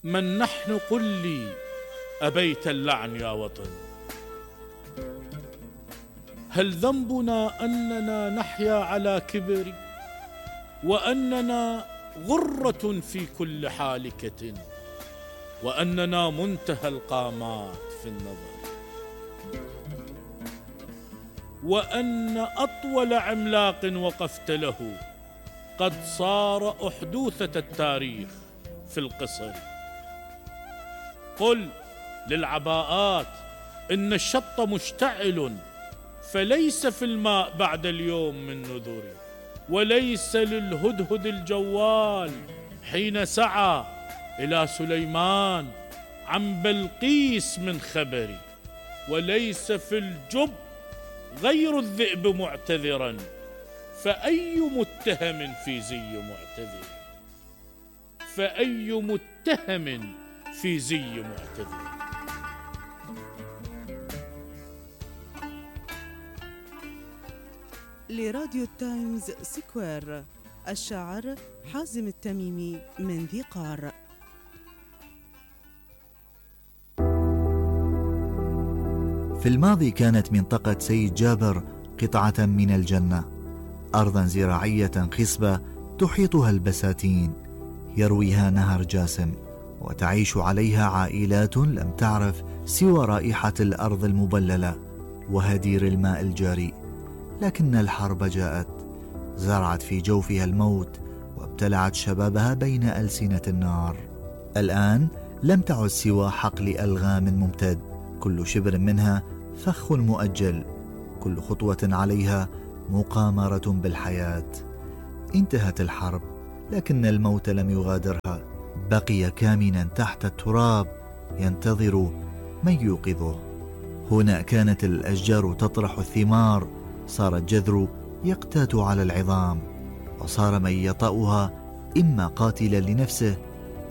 من نحن قل لي أبيت اللعن يا وطن؟ هل ذنبنا أننا نحيا على كبر، وأننا غرة في كل حالكة، وأننا منتهى القامات في النظر، وأن أطول عملاق وقفت له قد صار أحدوثة التاريخ في القصر؟ قل للعباءات إن الشط مشتعل، فليس في الماء بعد اليوم من نذر، وليس للهدهد الجوال حين سعى إلى سليمان عن بلقيس من خبر، وليس في الجب غير الذئب معتذرا، فأي متهم في زي معتذر، فأي متهم في زي معتذر. لراديو تايمز سكوير، الشاعر حازم التميمي من ذي قار. في الماضي كانت منطقة سيد جابر قطعة من الجنة، أرضا زراعية خصبة تحيطها البساتين، يرويها نهر جاسم، وتعيش عليها عائلات لم تعرف سوى رائحة الأرض المبللة وهدير الماء الجاري. لكن الحرب جاءت، زرعت في جوفها الموت، وابتلعت شبابها بين ألسنة النار. الآن لم تعد سوى حقل ألغام ممتد، كل شبر منها فخ مؤجل، كل خطوة عليها مقامرة بالحياة. انتهت الحرب، لكن الموت لم يغادرها، بقي كامنا تحت التراب ينتظر من يوقظه. هنا كانت الأشجار تطرح الثمار، صار الجذر يقتات على العظام، وصار من يطأها إما قاتلا لنفسه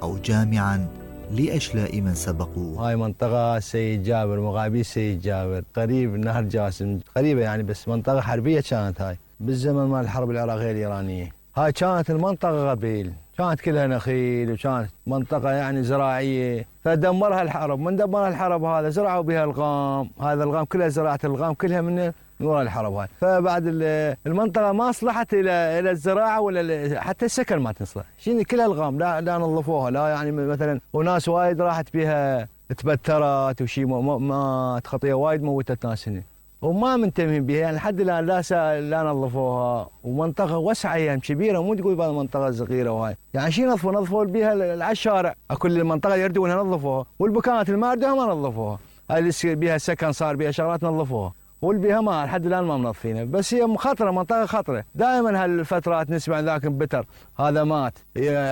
أو جامعا لأشلاء من سبقوه. هاي منطقة سيد جابر، مغابير سيد جابر، قريب نهر جاسم، قريبة يعني، بس منطقة حربية كانت هاي بالزمن مال الحرب العراقية الإيرانية. هاي كانت المنطقة قبيل، كانت كلها نخيل، وكانت منطقة يعني زراعية، فدمرها الحرب. من دمرها الحرب هذا زرعوا بها الغام، هذا الغام كلها زراعة الغام كلها من وراء الحرب هاي. فبعد المنطقة ما صلحت إلى الزراعة ولا حتى السكن ما تصلح، شنو كلها الغام لا نظفوها، لا يعني مثلا وناس وايد راحت بها تبترت وشي مات، خطية وايد موتت ناس هنا وما منتبهين بها يعني لحد الآن لا نظفوها. ومنطقة وسعة يعني كبيرة، مو تقول بعض منطقة صغيرة وهاي يعني شي نظفوا بها على الشارع، كل المنطقة يردونها نظفوها، والبكانات الماردة ما نظفوها، هاي اللي بها سكن صار بها شغلات نظفوها، والبيها ما لحد الان ما منظفينها. بس هي خطره، منطقه خطره، دائما هالفترات نسمع ذاك بتر هذا مات،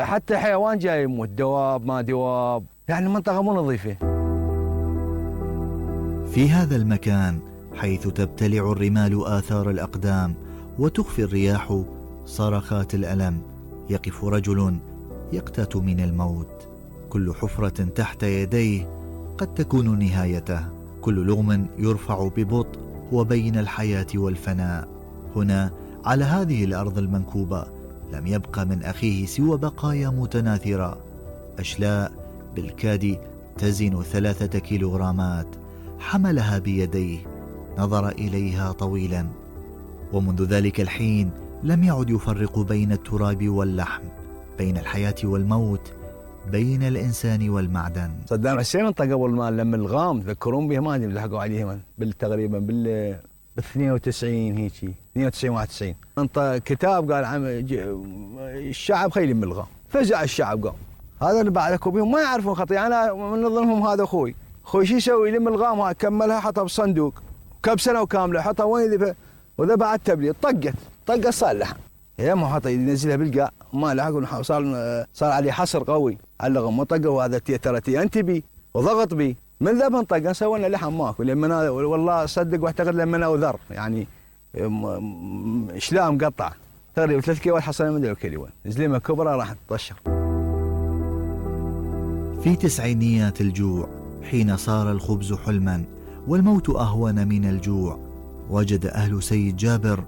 حتى حيوان جاي يموت، دواب ما دواب، يعني منطقه مو نظيفه. في هذا المكان حيث تبتلع الرمال آثار الأقدام وتخفي الرياح صرخات الألم، يقف رجل يقتات من الموت. كل حفرة تحت يديه قد تكون نهايته، كل لغم يرفع ببطء وبين الحياة والفناء. هنا على هذه الأرض المنكوبة لم يبق من أخيه سوى بقايا متناثرة، أشلاء بالكاد تزن 3 كيلوغرامات، حملها بيديه، نظر إليها طويلا، ومنذ ذلك الحين لم يعد يفرق بين التراب واللحم، بين الحياة والموت، بين الإنسان والمعدن. صدام حسين انطى قبل ما لما الغام تذكرون بها، ما ادري لحقوا عليها تقريبا بال 92 هيجي 92 91 انطى كتاب قال الشعب خيل من الغام، فزع الشعب قام. هذا اللي بعدكم بهم ما يعرفون خطيئة، انا من ضمنهم هذا اخوي شو يسوي؟ يلم الغام هاي كملها حطها بالصندوق كم سنه وكامله، حطها وين وذا بعد تبليط طقت صار لحم، يا ما حط ينزلها بالقاع ما لحق، صار عليه حصر قوي على الغم، وطقه وهذا ترى انتبي وضغط بي من ذبن طقه سوينا لحم ماكو. لما والله صدق واعتقد لما اوذر يعني شلام مقطع تقريبا 3 كيلو حصلنا من ذا الكيلو، زلمه كبرى راح تطشر. في تسعينيات الجوع حين صار الخبز حلما والموت أهون من الجوع، وجد أهل سيد جابر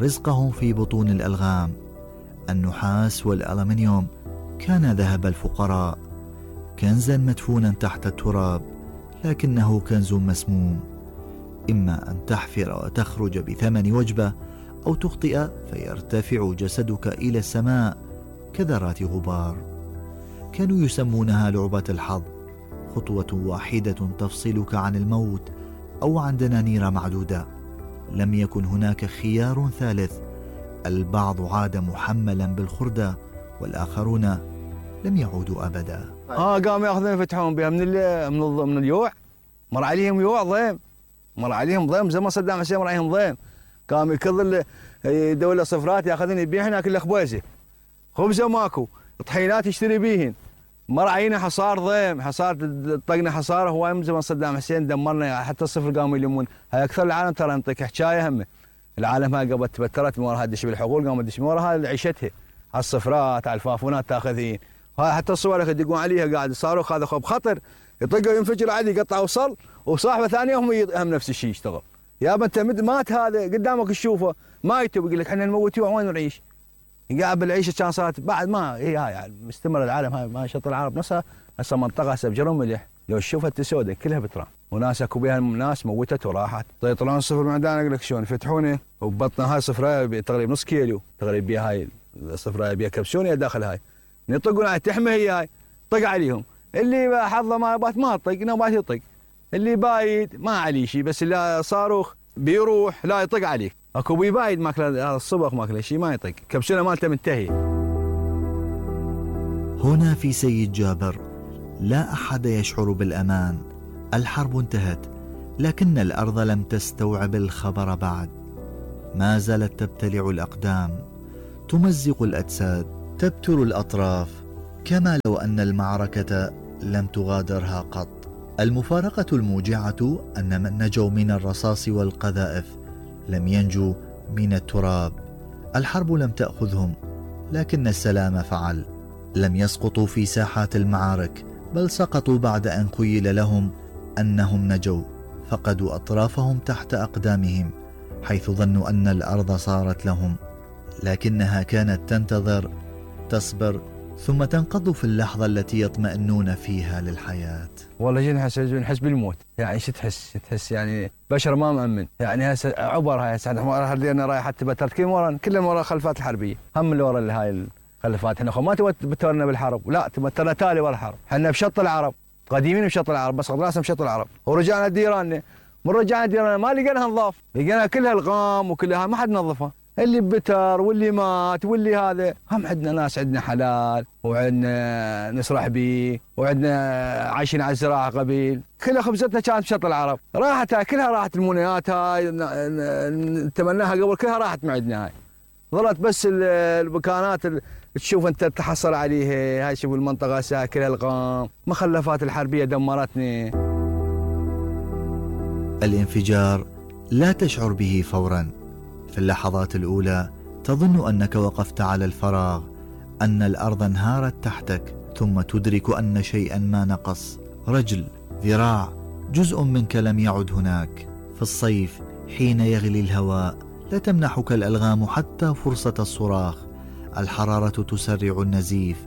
رزقهم في بطون الألغام. النحاس والألمنيوم كان ذهب الفقراء، كنزا مدفونا تحت التراب، لكنه كنز مسموم. إما أن تحفر وتخرج بثمن وجبة، أو تخطئ فيرتفع جسدك إلى السماء كذرات غبار. كانوا يسمونها لعبة الحظ، خطوة واحدة تفصلك عن الموت أو عن دنانير معدودة. لم يكن هناك خيار ثالث. البعض عاد محملا بالخردة، والآخرون لم يعودوا أبدا. قاموا ياخذون يفتحون بها من اليوع. مر عليهم يوع ضيم، مر عليهم ضيم زي ما صدام حسين مر عليهم ضيم. قام يكل دولة صفرات ياخذون يبيع هناك الا خبيزه، خبزه ماكو، طحينات يشتري بيهن. مر علينا حصار ضيم، حصار طقنا حصاره هواي من زمان صدام حسين دمرنا، حتى الصفر قاموا يلمون. هاي اكثر العالم ترى نعطيك حكايه همه. العالم هاي قبل تبترت من وراها تدش بالحقول، قامت تدش من وراها عيشتها على الصفرات على الفافونات تاخذين. هاي حتى الصور يدقون عليها قاعد الصاروخ هذا بخطر يطقه ينفجر عادي يقطع وصل، وصاحبه ثانيه هم نفس الشيء يشتغل. يابا انت مات هذا قدامك تشوفه ما يتوب، يقول لك احنا نموت وين نعيش؟ قاعد بالعيشه كان صارت بعد ما هي هاي يعني مستمر العالم هاي ما شط العرب نفسها هسه منطقه هسه بجرم ملح، لو تشوفها السوداء كلها بترام، وناس اكو بها ناس موتت وراحت. يطلعون صفر من عندنا اقول لك شلون يفتحونه وبطنا هاي صفرايه تقريبا نص كيلو تقريبا بها هاي الصفرايه بها كبسونه داخل هاي يطقون على تحمه هي طق عليهم. اللي حظه ما بات ما طق نوبات يطق، اللي بايد ما عليه شيء، بس اللي صاروخ بيروح لا يطق عليك. اكو بايد ماكله هذا الصبغ ماكله شيء ما يطق، كبسونه مالته منتهي. هنا في سيد جابر لا أحد يشعر بالأمان. الحرب انتهت، لكن الأرض لم تستوعب الخبر بعد. ما زالت تبتلع الأقدام، تمزق الأجساد، تبتر الأطراف، كما لو أن المعركة لم تغادرها قط. المفارقة الموجعة أن من نجوا من الرصاص والقذائف لم ينجوا من التراب. الحرب لم تأخذهم، لكن السلام فعل. لم يسقطوا في ساحات المعارك، بل سقطوا بعد أن خيل لهم أنهم نجوا. فقدوا أطرافهم تحت أقدامهم، حيث ظنوا أن الأرض صارت لهم، لكنها كانت تنتظر، تصبر، ثم تنقض في اللحظة التي يطمئنون فيها للحياة. والله جينا نحس بالموت، يعني شو تحس يعني بشر ما مأمن، يعني هسه عبر هاي هسه احنا رايح حتى بترت كلهم ورا الخلفات الحربية، هم اللي ورا هاي الخلفات. احنا ما تبترنا بالحرب، لا تبترنا تالي ورا الحرب. احنا بشط العرب قديمين بشط العرب، بس راسنا بشط العرب، ورجعنا ديراننا. من رجعنا ديراننا ما لقيناها نظاف، لقينا كلها الغام وكلها ما حد نظفها. اللي بتر واللي مات واللي هذا. هم عندنا ناس عندنا حلال وعندنا نسرح بيه وعندنا عايشين على الزراعه قبيل، كلها خبزتنا كانت بشط العرب. راحت هاي كلها، راحت المنيات هاي نتمناها قبل كلها راحت من عندنا. هاي ظلت بس المكانات تشوف انت تحصل عليها. هاي شوف المنطقه هسه كلها الغام، مخلفات الحربيه دمرتني. الانفجار لا تشعر به فورا. في اللحظات الأولى تظن أنك وقفت على الفراغ، أن الأرض انهارت تحتك، ثم تدرك أن شيئا ما نقص، رجل، ذراع، جزء منك لم يعد هناك. في الصيف حين يغلي الهواء لا تمنحك الألغام حتى فرصة الصراخ. الحرارة تسرع النزيف،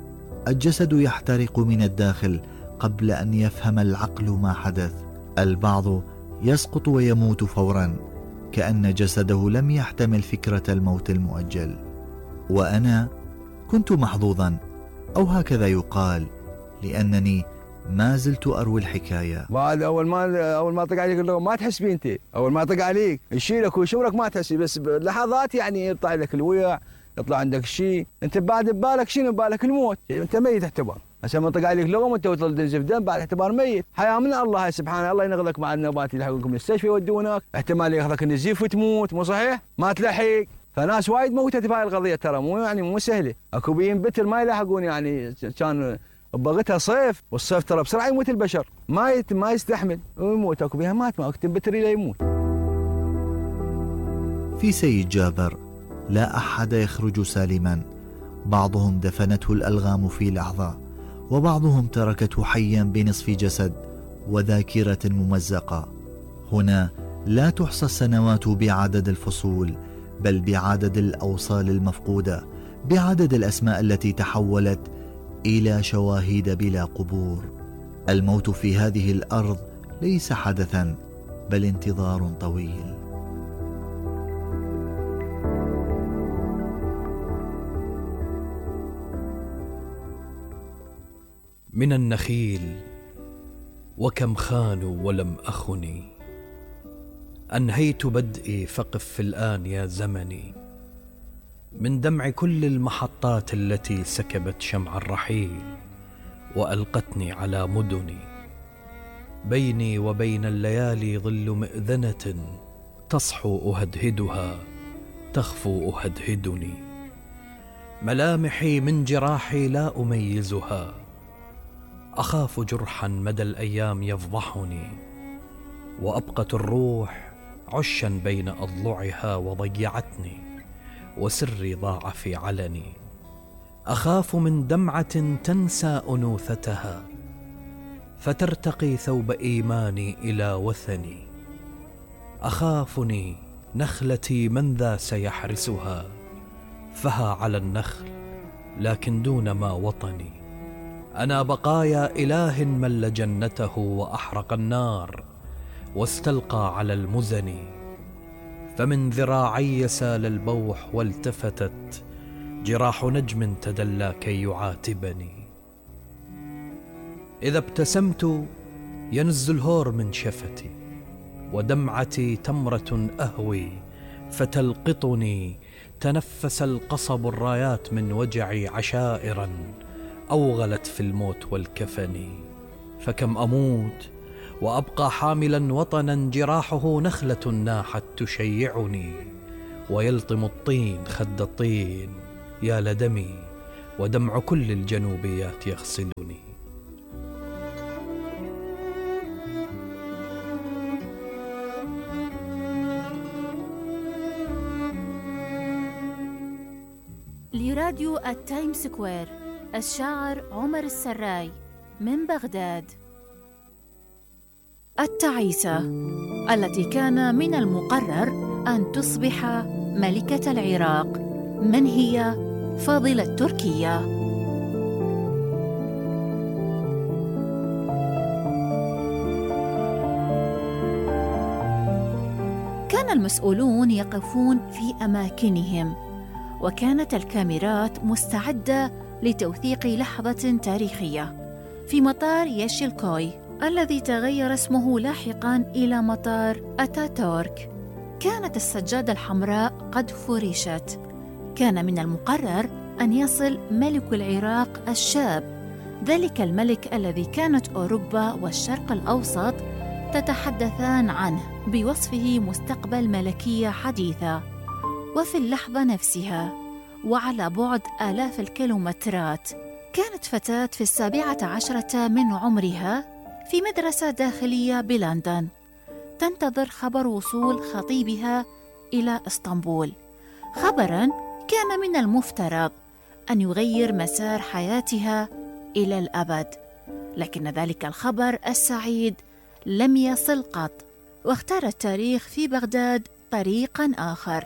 الجسد يحترق من الداخل قبل أن يفهم العقل ما حدث. البعض يسقط ويموت فورا، كأن جسده لم يحتمل فكرة الموت المؤجل. وأنا كنت محظوظا، أو هكذا يقال، لأنني ما زلت أروي الحكاية. بعد أول ما طق عليك اللغة ما تحس بيه أنت، أول ما طق عليك يشيلك ويشورك ما تحس، بس بلحظات يعني يطلع لك الويع، يطلع عندك شيء، أنت بعد ببالك شنو؟ ببالك الموت، أنت ميت اعتبر. هسه ما طق عليك لغم وانت وصل تنزف دم بعد اعتبار ميت. حياه من الله هاي سبحان الله، ينقذك مع النوبات يلحقونكم المستشفى يودونك، احتمال ياخذك النزيف وتموت، مو صحيح؟ ما تلحق. فناس وايد موتت بهاي القضيه ترى، مو سهله. اكو بيين بتر ما يلحقون، يعني كان بغتها صيف، والصيف ترى بسرعه يموت البشر، ما يستحمل ويموت. اكو بيها مات، ما اكتب بتر الى يموت. في سيد جابر لا احد يخرج سالما. بعضهم دفنته الالغام في لحظه، وبعضهم تركته حيا بنصف جسد وذاكرة ممزقة. هنا لا تحصى السنوات بعدد الفصول، بل بعدد الأوصال المفقودة، بعدد الأسماء التي تحولت إلى شواهد بلا قبور. الموت في هذه الأرض ليس حدثا بل انتظار طويل. من النخيل وكم خانوا ولم أخني، أنهيت بدئي فقف في الآن يا زمني. من دمع كل المحطات التي سكبت شمع الرحيل وألقتني على مدني، بيني وبين الليالي ظل مئذنة تصحو أهدهدها تخفو أهدهدني. ملامحي من جراحي لا أميزها، أخاف جرحا مدى الأيام يفضحني، وأبقت الروح عشا بين أضلعها وضيعتني، وسري ضاع في علني. أخاف من دمعة تنسى أنوثتها فترتقي ثوب إيماني إلى وثني. أخافني نخلتي من ذا سيحرسها، فها على النخل لكن دون ما وطني. أنا بقايا إله مل جنته وأحرق النار واستلقى على المزن. فمن ذراعي سال البوح والتفتت جراح نجم تدلى كي يعاتبني. إذا ابتسمت ينز الهور من شفتي، ودمعتي تمرة أهوي فتلقطني. تنفس القصب الرايات من وجعي عشائرا أوغلت في الموت والكفن. فكم أموت وأبقى حاملا وطنا جراحه نخلة ناحت تشيعني، ويلطم الطين خد الطين يا لدمي، ودمع كل الجنوبيات يغسلني. لراديو التايم سكوير، الشاعر عمر السراي من بغداد. التعيسة التي كان من المقرر أن تصبح ملكة العراق، من هي فاضلة تركيا؟ كان المسؤولون يقفون في أماكنهم، وكانت الكاميرات مستعدة لتوثيق لحظة تاريخية في مطار يشيلكوي الذي تغير اسمه لاحقاً إلى مطار أتاتورك. كانت السجادة الحمراء قد فرشت. كان من المقرر أن يصل ملك العراق الشاب، ذلك الملك الذي كانت أوروبا والشرق الأوسط تتحدثان عنه بوصفه مستقبل ملكية حديثة. وفي اللحظة نفسها وعلى بعد آلاف الكيلومترات، كانت فتاة في 17 من عمرها في مدرسة داخلية بلندن تنتظر خبر وصول خطيبها إلى إسطنبول، خبراً كان من المفترض أن يغير مسار حياتها إلى الأبد. لكن ذلك الخبر السعيد لم يصل قط، واختار التاريخ في بغداد طريقاً آخر.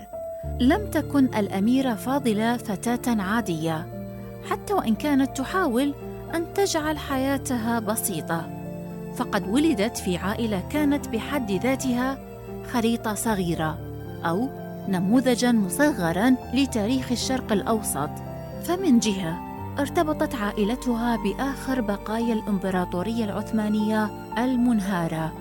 لم تكن الأميرة فاضلة فتاة عادية، حتى وإن كانت تحاول أن تجعل حياتها بسيطة، فقد ولدت في عائلة كانت بحد ذاتها خريطة صغيرة أو نموذجاً مصغراً لتاريخ الشرق الأوسط. فمن جهة ارتبطت عائلتها بآخر بقايا الإمبراطورية العثمانية المنهارة،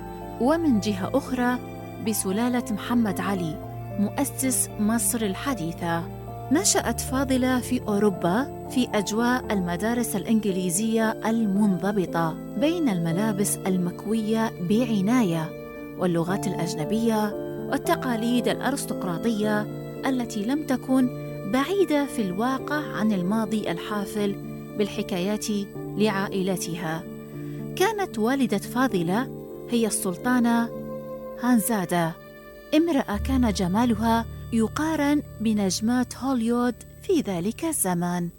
ومن جهة أخرى بسلالة محمد علي مؤسس مصر الحديثة. نشأت فاضلة في أوروبا في أجواء المدارس الإنجليزية المنضبطة بين الملابس المكوية بعناية واللغات الأجنبية والتقاليد الأرستقراطية التي لم تكن بعيدة في الواقع عن الماضي الحافل بالحكايات لعائلتها. كانت والدة فاضلة هي السلطانة هانزادة، امرأة كان جمالها يقارن بنجمات هوليوود في ذلك الزمان.